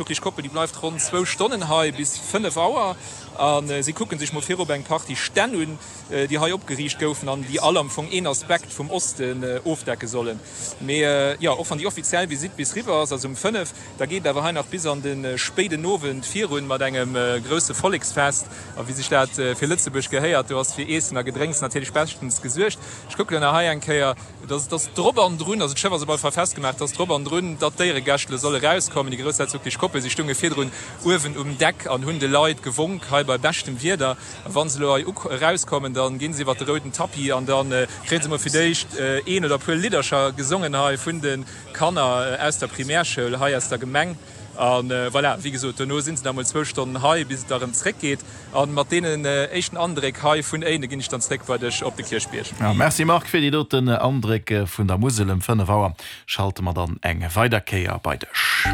D'Glücklich Koppel, déi bleift ronn zwou Stonnen hei, bis 5 Auer, a si kucke sech mol virop eng Partie Stänn un, déi hei opgeriicht goufen an déi all am Fong een Aspekt vum Osten ofdecke sollen. Mee jo, och wann déi offiziell Visitt bis riwwer ass, also um 5, da geet et awer hei nach bis an de spéiden Owend virun mat engem grousse Volleksfest. A wéi sech dat fir Lëtzebuerg gehéiert, do ass fir Iessen a Gedrénks natierlech beschtens gesuergt. Ech kucke lo nach hei eng Kéier. Et ass drop an drun, also d'Schëff ass op alle Fall festgemaach, et ass drop an drun, datt d'Éieregäscht elo solle rauskommen. Déi groussherzoglech Koppel, si stounge virdrun uewen um Deck an hunn de Leit gewonk, hei bei beschtem Wieder. A wa se elo hei erauskommen, da ginn se iwwer de rouden Tapis an da kréie se mol fir d'éischt een oder e puer Liddercher gesongen hei vun de Kanner aus der Primärschoul hei aus der Gemeng. A voilà, wéi gesot, dono si se da mol zwou Stonnen hei, bis et da erëm zréckgeet. A mat deenen éischten Andréck hei vun Éinen ginn ech dann zréck bei dech op de Kierchbierg. Merci Marc fir déi doten Andréck vun der Musel. Ëm 5 Auer schalte mer dann eng weider Kéier bei dech.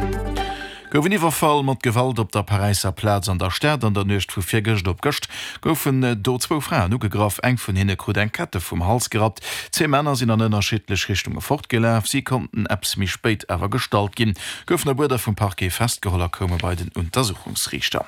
Gouf en Iwwerfall mat Gewalt op der Paräisser Plaz an der Stad. An der Nuecht vu virgëscht op gëscht goufen do zwou Fraen ugegraff. Eng vun hinne krut eng Kette vum Hals gerappt. Zwee Männer sinn an ënnerschiddlech Richtunge fortgelaf. Si konnten eppes méi spéit awer gestallt ginn. Goufen op Uerder vum Parquet festgeholl a koume bei den Untersuchungsriichter.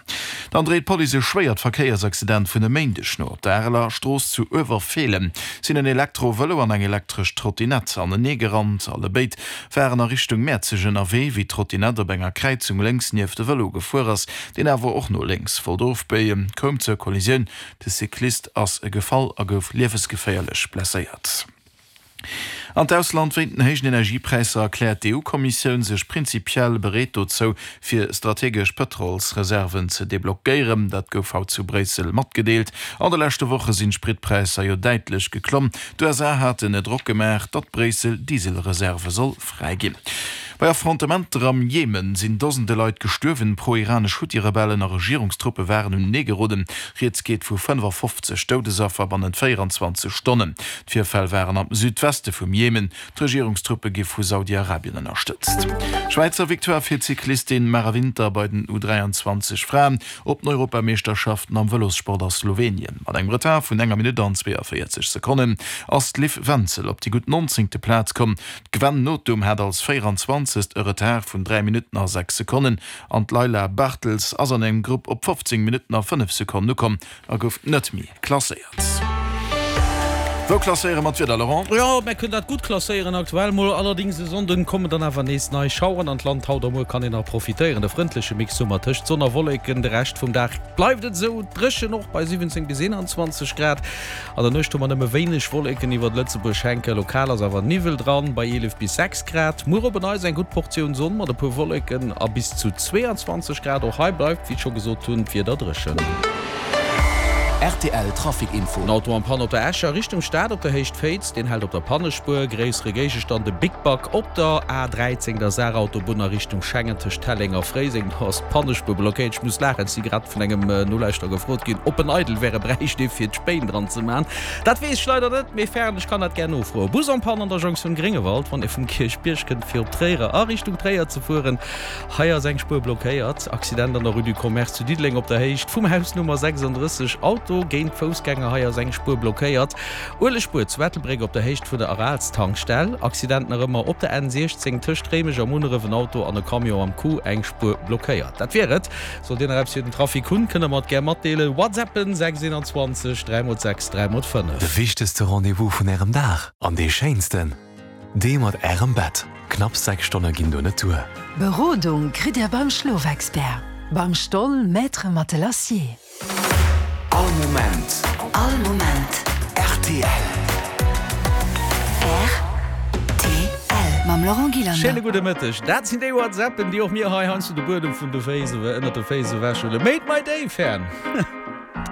Dann dréit d'Police e schwéiert Verkéiersaccident vun e Méindeg no. Op der Areler Strooss zu Uewerfeelen sinn en Elektro-Vëlo an eng elektresch Trottinett anenee gerannt. Allebéid waren a Richtung Mäerzeg ënnerwee, wéi d'Trottinett op enger Kräizung lénks nieft de Vëlo gefuer ass, deen awer och no lénks wollt ofbéien, koum zur Kollisioun. De Cyclist ass gefall a gouf liewesgeféierlech blesséiert. An d'Ausland, Wéint den héijen Energiepräisser erkläert d'EU-Kommissioun sech prinzipiell bereet dozou, fir strategesch Pëtrolsreserven ze deblockéieren. Dat gouf haut zu Bréissel matgedeelt. An de leschte Woche sinn d'Spritpräisser jo däitlech geklomm. D'USA haten Drock gemaach, datt Bréissel Dieselreserve soll fräiginn. Bei Affrontementer am Jemen sinn Dosende Leit gestuerwen. Pro-iranesch Huthi-Rebellen a Regierungstruppe waren unenee geroden. Rieds geet vu 55 Doudesaffer bannent 24 Stonnen. D'Virfäll waren am Südweste vum Jemen. D'Regierungstruppe gi vu Saudi-Arabien ënnerstëtzt. Schwäizer Victoire fir d'Cyclistin Mara Winter bei den U 23 Fraen op den Europameeschterschaften am Vëlossport a Slowenien. Mat engem Retard vun enger Minutt an 42 Sekonnen ass d'Liv Wenzel op déi gutt nonzéngte Plaz komm. D'Gwen Nothum hat als 24. E Retard vun 3 Minutten a 6 Sekonnen an d'Layla Bartels ass an engem Grupp op 15 Minutten a 5 Sekonnen ukomm a gouf net méi klasséiert. Wou klasséiere mer d'Wieder, Laurent? Jo, mär kënnen dat gutt klasséieren aktuell mol. Allerdings e Sonnden kommen dann awer nees nei Schaueren an d'Land. Haut a muer kann een nach profitéieren, de frëndleche Mix Summer tëscht Sonn a Wolleken. De Rescht vum Dag bleift et esou dréchen, och bei 17 bis 21 Grad. An der Nuecht hu mer nëmme wéineg Wolleken iwwert Lëtzebuerg hänken, lokal ass awer Niwwel dran, bei 11 bis 6 Grad. Muer op en Neits eng gutt Portioun Sonn mat e puer Wolleken a bis zu 22 Grad. Och hei bleift, wéi ech scho gesot hunn, d'Wieder dréchen. Rtl Trafic Info. En Auto en Panne op der Escher Richtung Stad op der Héicht Féiz, deen hält op der Pannespuer. Gréissere Géigestand, e Big Bac op der A 13, der Saarautobunn a Richtung Schengen tëscht Telleng a Fréiseng. Do ass d'Pannespuer blockéiert. Ech muss laachen, ech si grad vun engem Nolauschterer gefrot ginn, ob en eidel wäre, bräicht ee fir d'Spéin dran ze man. Dat weess ech leider net, mee fern, ech kann dat gär nofroen. Bus en panne an der Jonktioun Gréngewald, wann ee vum Kierchbierg kënnt fir op Tréier a Richtung Tréier ze fueren. Hei ass eng Spuer blockéiert. Accident an der Rue du Commerce zu Diddeleng op der Héicht vum Haus Nummer 36. Auto géint Foussgänger, hei ass eng Spuer blockéiert. Uelegspuer zu Ettelbréck op der Héicht vun der Aralstankstell. Accident nach ëmmer op der N 16 tëscht Réimech a Munneref, en Auto an e Camion am Coup, eng Spuer blockéiert. Dat wier et. Sollt dir nach eppes fir den Trafic hunn, kënnt der mer et gär matdeelen. Whatsappen 6 21 3 x 6 3 x 5. De wichtegste Rendez-vous vun Ärem Dag an dee schéinsten, dee mat Ärem Bett. Knapps 6 Stonne ginn do net duer. Berodung kritt Dir beim Schlofexpert, beim Stoll Maître Matelassier. All Moment. All Moment. Rtl. Rtl. Mam Laurent Gillander. Schéine gudde Mëtteg. Dat sinn déi WhatsAppen, déi och mir hei heiansdo de Buedem vun de Féiss, ënnert de Féiss ewechhuelen. Made my day, Fern.